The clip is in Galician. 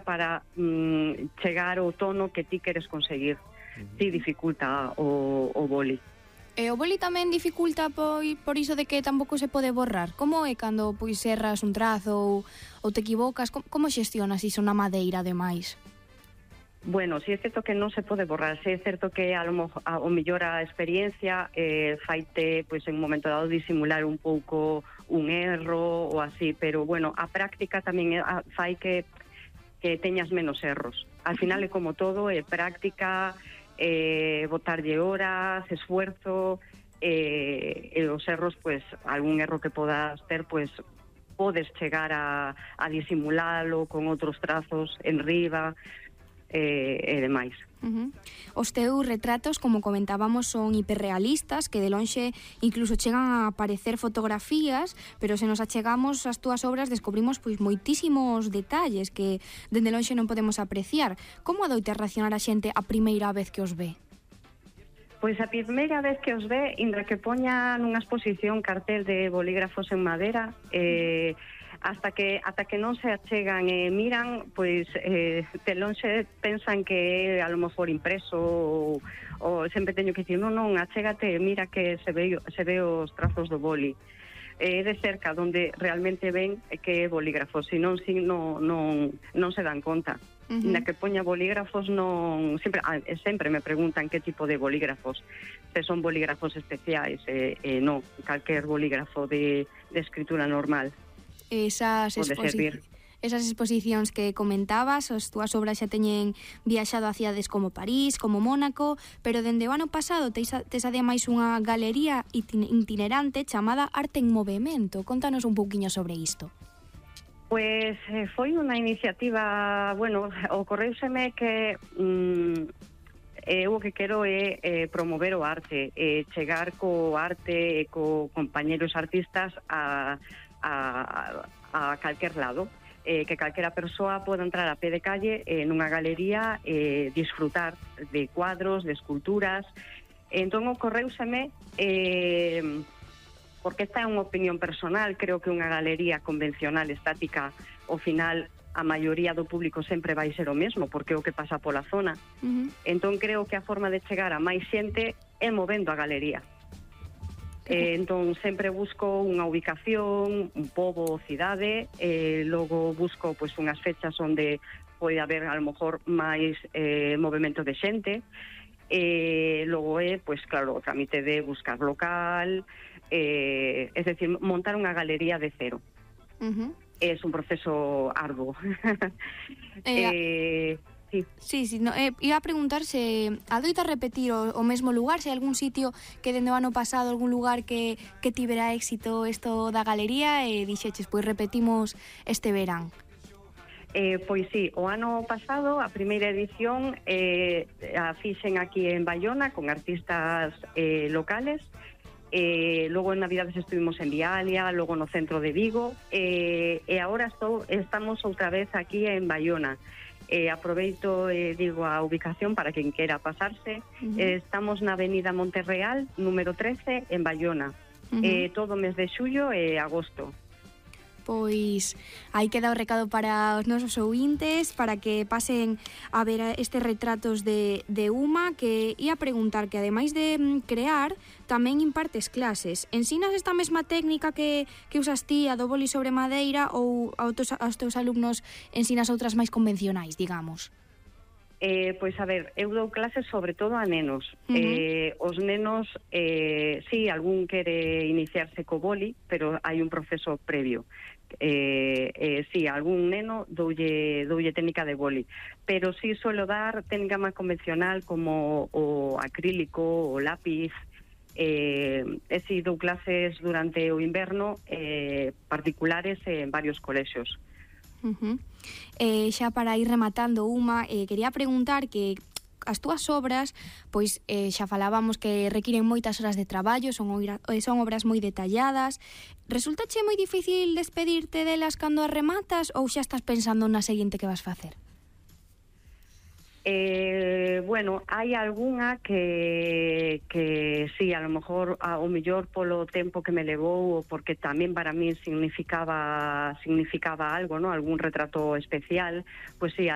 para chegar ao tono que ti queres conseguir. Si dificulta o boli. E o boli tamén dificulta por iso de que tampouco se pode borrar. Como é cando serras un trazo ou te equivocas? Como xestionas iso na madeira, ademais? Bueno, si é certo que non se pode borrar, si é certo que ao mellor a experiencia faite en un momento dado disimular un pouco un erro ou así, pero bueno, a práctica tamén fai que teñas menos erros. Al final é como todo, é práctica, botarlle horas, esfuerzo, e os erros, algún erro que podas ter, podes chegar a disimulalo con outros trazos en riba, e demais. Os teus retratos, como comentábamos, son hiperrealistas, que de lonxe incluso chegan a aparecer fotografías, pero se nos achegamos ás túas obras descubrimos moitísimos detalles que dende lonxe non podemos apreciar. Como adoita reaccionar a xente a primeira vez que os ve? Pois a primeira vez que os ve, inda que poña nunha exposición cartel de bolígrafos en madera, ata que non se achegan e miran, de lonxe pensan que é a lo mejor impreso ou sempre teño que dicir, non, achégate, mira que se ve os trazos do boli. É de cerca donde realmente ven que é bolígrafo, senón non se dan conta. Na que poña bolígrafos sempre me preguntan que tipo de bolígrafos, se son bolígrafos especiais, non, calquer bolígrafo de escritura normal. Esas exposicións que comentabas, as túas obras xa teñen viaxado a cidades como París, como Mónaco, pero dende o ano pasado tes ademais unha galería itinerante chamada Arte en Movemento. Contanos un pouquiño sobre isto. Pois foi unha iniciativa, ocorreuseme que eu o que quero é promover o arte, chegar co arte e co compañeros artistas a calquer lado, que calquera persoa poda entrar a pé de calle nunha galería e disfrutar de cuadros, de esculturas. Entón ocorreuseme, porque esta é unha opinión personal, creo que unha galería convencional, estática, ao final a maioría do público sempre vai ser o mesmo, porque é o que pasa pola zona. Entón creo que a forma de chegar a máis xente é movendo a galería. Entón sempre busco unha ubicación, un pobo, cidade, logo busco unhas fechas onde pode haber a lo mejor máis movimento de xente, logo claro, o trámite de buscar local, é dicir, montar unha galería de cero. É un proceso arduo. Sí, iba a preguntar se adoita repetir o mesmo lugar, se hai algún sitio que dende o ano pasado, algún lugar que tivera éxito isto da galería e dixeches, repetimos este verán. Pois sí, o ano pasado a primeira edición a fixen aquí en Baiona con artistas locales, logo en Navidades estuvimos en Vialia, logo no centro de Vigo, e agora estamos outra vez aquí en Baiona. Aproveito digo a ubicación para quen quera pasarse. Estamos na avenida Monterreal número 13 en Baiona, todo o mes de xullo e agosto. Pois aí queda o recado para os nosos ouvintes, para que pasen a ver estes retratos de Uma, que ia preguntar que ademais de crear, tamén impartes clases. Ensinas esta mesma técnica que usas ti, a do boli sobre madeira, ou aos teus alumnos ensinas outras máis convencionais, digamos? Pois a ver, eu dou clases sobre todo a nenos. Os nenos, sí, algún quere iniciarse co boli, pero hai un proceso previo. Sí, algún neno doulle técnica de boli, pero sí suelo dar técnica máis convencional como o acrílico, o lápiz. Sí, dou clases durante o inverno particulares en varios colexios. Xa para ir rematando, Uma, quería preguntar que as túas obras, pois xa falábamos que requiren moitas horas de traballo, son obras moi detalladas. Resultache moi difícil despedirte delas cando as rematas ou xa estás pensando na seguinte que vas facer? Bueno, hai algunha que sí, a lo mejor o mellor polo tempo que me levou ou porque tamén para mí significaba algo, ¿no? Algún retrato especial, pues sí,